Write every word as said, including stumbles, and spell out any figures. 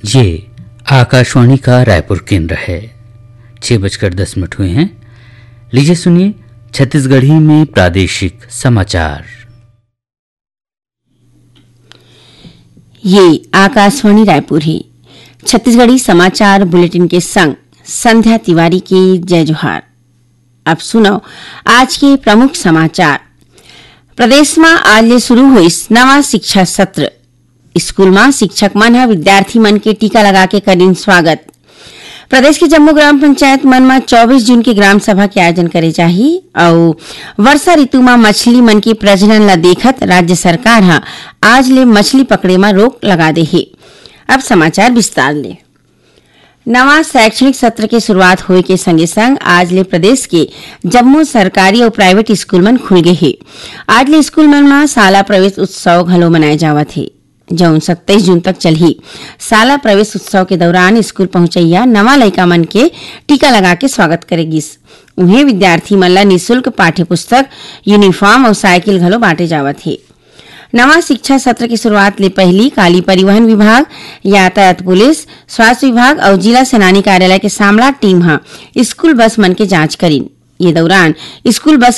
ये आकाशवाणी का रायपुर केंद्र है। छह बजकर दस मिनट हुए हैं। लीजिए सुनिए छत्तीसगढ़ी में प्रादेशिक समाचार। ये आकाशवाणी रायपुर है। छत्तीसगढ़ी समाचार बुलेटिन के संग संध्या तिवारी के जय जोहार। अब सुनव आज के प्रमुख समाचार। प्रदेश म आज ले शुरू होइस नवा शिक्षा सत्र। स्कूल म शिक्षक मन ह विद्यार्थी मन के टीका लगा के करिन स्वागत। प्रदेश के जम्मो ग्राम पंचायत मन म चौबीस जून के ग्राम सभा के आयोजन करे जाही अउ वर्षा ऋतु म मछली मन के प्रजनन ल देखत राज्य सरकार ह आज ले मछली पकड़े म रोक लगा दे हे। अब समाचार विस्तार ले। नवा शैक्षणिक सत्र के शुरुआत होए के संगे संग आज ले प्रदेश के जम्मो सरकारी अउ प्राइवेट स्कूल मन खुल गे हे। आज ले स्कूल मन म शाला प्रवेश उत्सव घलो मनाए जावत हे, जउन सत्ताईस जून तक चलही। शाला प्रवेश उत्सव के दौरान स्कूल पहुंचइया नवा लइका मन के टीका लगा के स्वागत करे गिस। उहें, विद्यार्थी मन ला निशुल्क पाठ्य पुस्तक, यूनिफॉर्म अउ साइकिल घलो बांटे जावत हे। नवा शिक्षा सत्र के शुरुआत ले पहिली काली परिवहन विभाग, यातायात पुलिस, स्वास्थ्य विभाग अउ जिला सेनानी कार्यालय के सामला टीम ह स्कूल बस मन के जांच करिन। ये दौरान स्कूल बस के